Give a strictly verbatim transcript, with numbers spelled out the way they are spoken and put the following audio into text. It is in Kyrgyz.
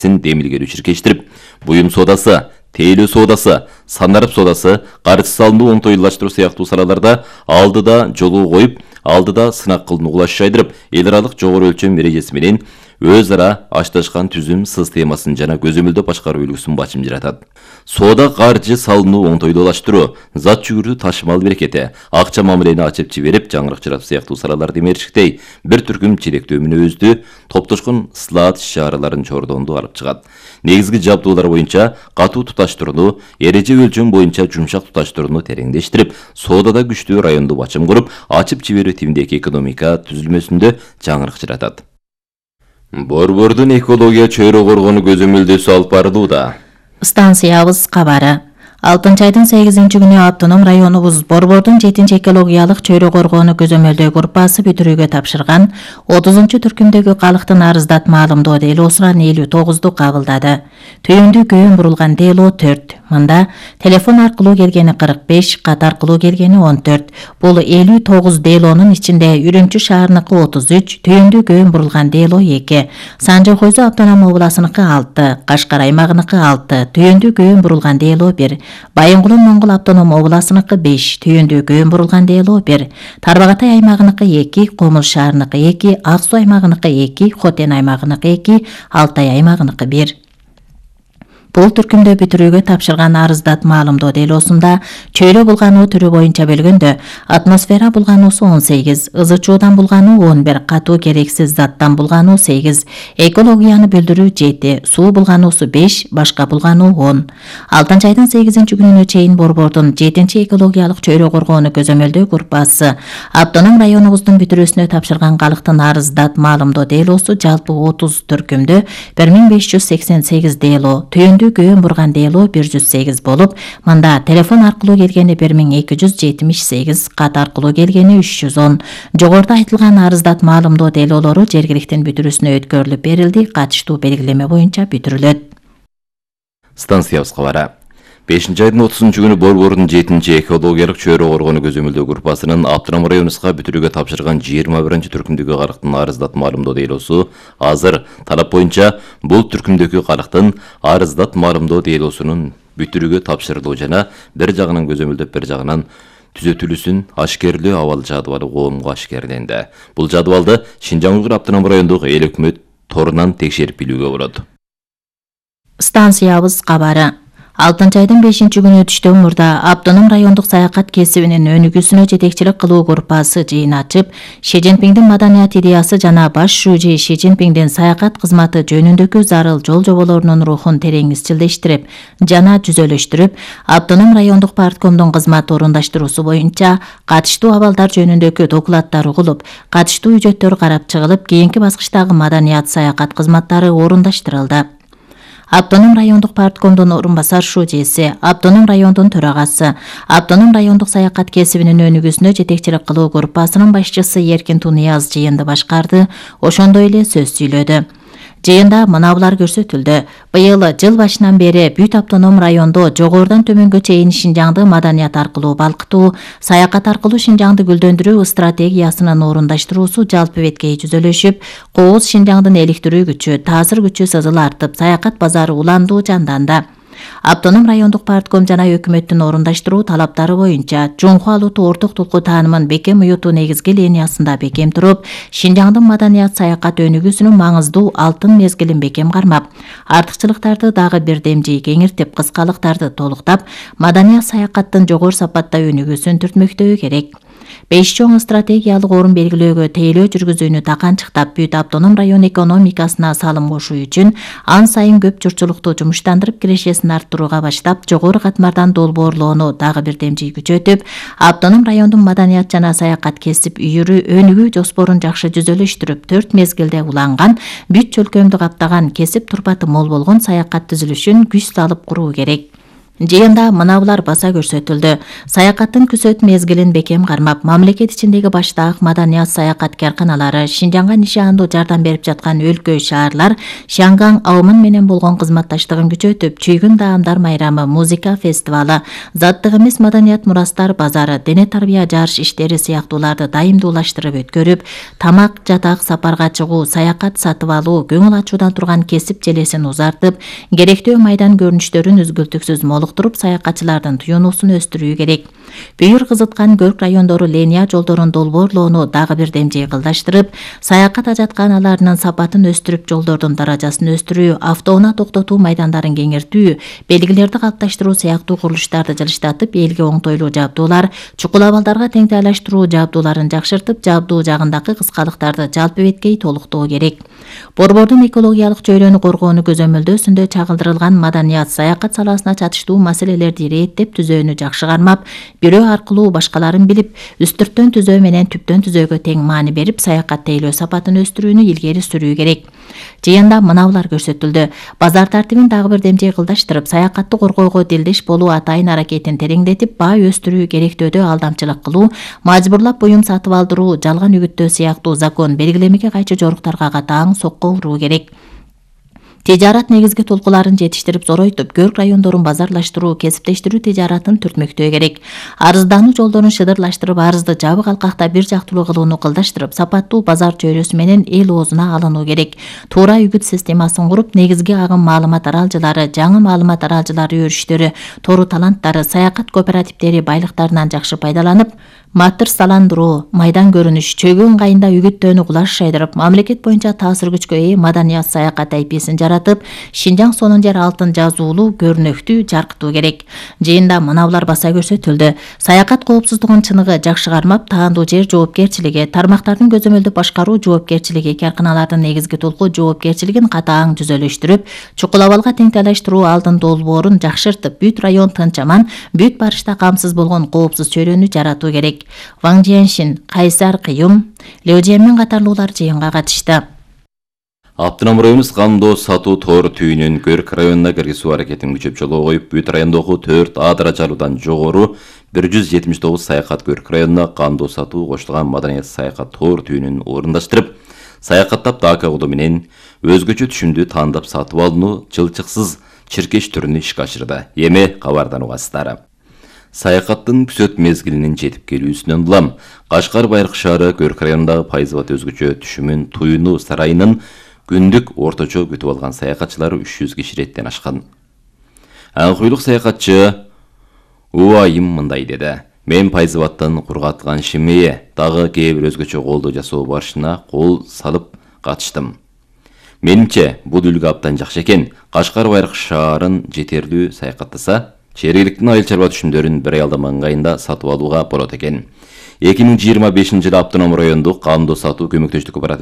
демилгелүү чиркештирип, буюм соодасы, тейлөө соодасы, санарып соодасы, каржы салымды оңтойлаштыруу сыяктуу салаларда алдыда жолуу коюп, алдыда сынак кылынууга шайдырып, эл аралык жогору өлчөм эрежеси менен өз ара ашташкан түзүм системасын жана көзөмөлдөө башкаруу үлгүсүн бачым жаратат. Соода каржы салымды оңтойлаштыруу, зат жүгүрдү ташымал берекети, акча мамилени ачып жиберип, жаңырык жаратуу сыяктуу салаларды мерчиктей бир түркүм чиректөө мүнөздүү топтошкон ислаат иш-чараларын чордонду алып чыгат. Негизги жабдуулар боюнча катуу туташтырууну, эреже өлчөм боюнча жумшак туташтырууну тереңдештирип, соодада күчтүү районду бачым куруп, ачып жиберүү типиндеги экономика түзүлмөсүндө жаңырык жаратат. Борбордун экология чөйрө коргонуу көзөмөлдөөсү алып барылууда. Станциябыз кабары. алтынчы айдын сегизинчи күнү автоном районубуз Борбордун жетинчи экологиялык чөйрө коргоону көзөмөлдөө группасы бүтүрүүгө тапшырган отузунчу түркүмдөгү калктын арыздат маалымдоо делоосунан элүү тогузду кабылдады. Түйүндүү көөн бурулган дело төрт. Мында телефон аркылуу келгени кырк беш, кат аркылуу келгени он төрт. Бул элүү тогуз делонун ичинде Үрүмчү шаарыныкы отуз үч, түйүндүү көөн бурулган дело эки, Санжы Хойзо автоном областыныкы алты, Кашкар аймагыныкы алты, түйүндүү көөн бурулган дело бир, Байынгулун Моңгол автоном областыныкы беш, түйүндүү көөн бурулган дело бир, Тарбагатай аймагыныкы эки, Комул шаарыныкы эки, Ак Суу аймагыныкы эки, Хотен аймагыныкы эки, Алтай аймагыныкы бир. Бул түркүмдө бүтүрүүгө тапшырган арыздат маалымдоо делоосунда чөйрө булгануу түрү боюнча бөлгөндө атмосфера булгануусу он сегиз, ызы чуудан булгануу он бир, катуу керексиз заттан булгануу сегиз, экологияны бүлдүрүү жети, суу булгануусу беш, башка булгануу он. алтынчы айдын сегизинчи күнүнө чейин Борбордун жетинчи экологиялык чөйрө коргоону көзөмөлдөө группасы автоном районубуздун бүтүрүүсүнө тапшырган калктын арыздат маалымдоо делоосу жалпы отуз түркүмдө бир миң беш жүз сексен сегиз дело, түйүндүү көөн бурган дело бир жүз сегиз болуп, мында телефон аркылуу келгени бир миң эки жүз жетимиш сегиз, кат аркылуу келгени үч жүз он. Жогоруда айтылган арыздат маалымдоо делолору жергиликтин бүтүрүүсүнө өткөрүлүп берилди, катыштуу белгилеме боюнча бүтүрүлөт. Станциябыз кабары. бешинчи айдын отузунчу күнү Борбордун жетинчи экологиялык чөйрө коргоону көзөмөлдөө группасынын автоном районубузга бүтүрүүгө тапшырган жыйырма биринчи түркүмдөгү калктын арыздат маалымдоо делоосу азыр талап боюнча бул түркүмдөгү калктын арыздат маалымдоо делоосунун бүтүрүүгө тапшырылуу жана бир жагынан көзөмөлдөп бир жагынан түзөтүлүүсүн ашкерлөө абал жадыбалы коомго ашкерленди. Бул жадыбалды Шинжаң Уйгур автоном райондук эл өкмөт торунан текшерип билүүгө болот. Станциябыз кабары. алтынчы айдын бешинчи күнү түштөн мурда автоном райондук саякат кесибинин өнүгүүсүнө жетекчилик кылуу группасы жыйын ачып, Ши Цзиньпиңдин маданият идеясы жана баш шүүжи Ши Цзиньпиңдин саякат кызматы жөнүндөгү зарыл жол жоболорунун рухун терең изчилдештирип жана түзөлөштүрүп, автоном райондук парткомдун кызмат орундаштыруусу боюнча катыштуу абалдар жөнүндөгү докладдар угулуп, катыштуу үжөттөр карап чыгылып, кийинки баскычтагы маданият саякат кызматтары орундаштырылды. Автоном райондук парткомдун орун басар шүүжеси, автоном райондун төрагасы, автоном райондук саякат кесибинин өнүгүүсүнө жетекчилик кылуу группасынын башчысы Эркин Тунияз жыйынды башкарды, ошондой эле сөз сүйлөдү. Жыйында мынабулар көрсөтүлдү. Быйыл жыл башынан бери бүт автоном райондо жогорудан төмөнгө чейин Шинжаңды маданият аркылуу балкытуу, саякат аркылуу Шинжаңды гүлдөндүрүү стратегиясынын орундаштыруусу жалпы беткей түзөлүшүп, кооз Шинжаңдын эликтирүү күчү, таасир күчү сызыл артып, саякат базары уландуу жанданды. Автоном райондук партком жана өкмөттүн орундаштыруу талаптары боюнча Жунху Алуту орток тулку таанымын бекем уютуу негизги линиясында бекем туруп, Шинжаңдын маданият саякат өнүгүүсүнүн маңыздуу алтын мезгилин бекем кармап, артыкчылыктарды дагы бирдемжи кеңиртип, кыскалыктарды толуктап, маданият саякаттын жогору сапатта өнүгүүсүн түртмөктөө керек. Беш чоң стратегиялык орун белгилөөгө тейлөө жүргүзүүнү таканчыктап, бүт автоном район экономикасына салым кошуу үчүн ан сайын көп журтчулукту жумуштандырып кирешесин арттырууга баштап, жогору катмардан долбоорлоону дагы бирдемжи күчөтүп, автоном райондун маданият жана саякат кесип үйүрүү өнүгүү жоспорун жакшы түзөлөштүрүп, төрт мезгилде уланган, бүт чөлкөмдү каптаган, кесип турпаты мол болгон саякат түзүлүшүн күч салып куруу керек. Жыйында мынабулар баса көрсөтүлдү. Саякаттын күзөт мезгилин бекем кармап, мамлекет ичиндеги баштаак маданият саякат карканалары, Шинжаңга нишандуу жардам берип жаткан өлкө шаарлар Шаңгаң Аумын менен болгон кызматташтыгын күчөтүп, Чүйгүн даамдар майрамы, музыка фестивалы, заттык эмес маданият мурастар базары, дене тарбия жарыш иштери сыяктууларды дайымдуулаштырып өткөрүп, тамак, жатак, сапарга чыгуу, саякат сатып алуу, көңүл ачуудан турган кесип желесин узартып, керектүү майдан көрүнүштөрүн үзгүлтүксүз молуктуруп, саякатчылардын туюнуусун өстүрүү керек. Бүйүр кызыткан Көрк райондору линия жолдорун долбоорлоону дагы бир демжей кылдаштырып, саякат ажатканаларынын сапатын өстүрүп, жолдордун даражасын өстүрүү, автоунаа токтотуу майдандарын кеңейтүү, белгилерди калыпташтыруу сыяктуу курулуштарды жылыштатып, элге оңтойлуу жабдуулар, чукул абалдарга теңтайлаштыруу жабдууларын жакшыртып, жабдуу жагындагы кыскалыктарды жалпы беткей толуктоо керек. Борбордун экологиялык чөйрөнү коргоону көзөмөлдөөсүндө чагылдырылган маданият саякат саласына чатыштуу маселелерди ирээттеп түзөөнү жакшы кармап, бирөө аркылуу башкаларын билип, үстүрттөн түзөө менен түптөн түзөөгө тең маани берип, саякат тейлөө сапатын өстүрүүнү илгери сүрүү керек. Жыйында мынабулар көрсөтүлдү. Базар тартибин дагы бир демжей кылдаштырып, саякатты коргоого дилдеш болуу атайын аракетин тереңдетип, баа өстүрүү, керектөөдө алдамчылык кылуу, мажбурлап буюм сатып алдыруу, жалган үгүттөө сыяктуу закон белгилемеге кайчы жоруктарга катаң сокко уруу керек. Тижарат негизги толкуларын жетиштирип зоройтуп, Көрк райондорун базарлаштыруу, кесиптештирүү тижаратын түртмөктөө керек. Арыздануу жолдорун шыдырлаштырып, арызды жабык алкакта бир жактылуу кылууну кылдаштырып, сапаттуу базар чөйрөсү менен эл оозуна алынуу керек. Туура үгүт системасын куруп, негизги агым маалымат аралжылары, жаңы маалымат аралжылары өрүштөрү, тору таланттары, саякат кооперативдери байлыктарынан жакшы пайдаланып, матырсаландыруу, майдан көрүнүш, чөгүү ыңгайында үгүттөөнү кулаш шайдырып, мамлекет боюнча таасир күчкө ээ маданият саякат айписин жаратып, Шинжаң сонун жер алтын жазуулуу, көрнөктүү жаркытуу керек. Жыйында мынабулар баса көрсөтүлдү. Саякат коопсуздугун чыныгы жакшы кармап, таандуу жер жоопкерчилиги, тармактардын көзөмөлдүп башкаруу жоопкерчилиги, карканалардын негизги толку жоопкерчилигин катаң түзөлөштүрүп, чукул абалга теңтайлаштыруу алдын долбоорун жакшыртып, бүт район тынчаман, бүт барышта камсыз болгон коопсуз чөйрөнү жаратуу керек. Ваң Жиэншин, Кайсар Кыюм, Лео Жиэнмин катарлуулар жыйынга катышты. Автоном районубуз кандоо сатуу тоор түйүнүн Көрк районуна киргизүү аракетин күчөп жолго коюп, бүт райондогу төрт А даражалуудан жогору бир жүз жетимиш тогуз саякат Көрк районуна кандоо сатуу коштулган маданият саякат тоор түйүнүн орундаштырып, саякаттап дака кылуу менен өзгөчө түшүмдү тандап сатып алууну жылчыксыз чиркеш түрүнө ишке ашырды. Эми кабардан угасыздар. Саякаттын күзөт мезгилинин жетип келүүсүнөн улам Кашкар Байыркы шаары Көрк районундагы пайызбат өзгөчө түшүмүн туюну сарайынын күндүк орточо күтүп алган саякатчылары үч жүз киши реттен ашкан. Аңкуйлук саякатчы Уайым мындай деди. Мен пайызбаттан кургатылган шимее, дагы кээ бир өзгөчө колдоо жасоо барышына кол салып катыштым. Менимче, бул үлгү абдан жакшы экен. Кашкар Байыркы шаарын жетерлүү саякаттаса, жергиликтин айыл чарба түшүмдөрүн бир аялдама ыңгайында сатып алууга болот экен. эки миң жыйырма бешинчи жылы автоном райондук кандоо сатуу көмөктөштүк кооперативи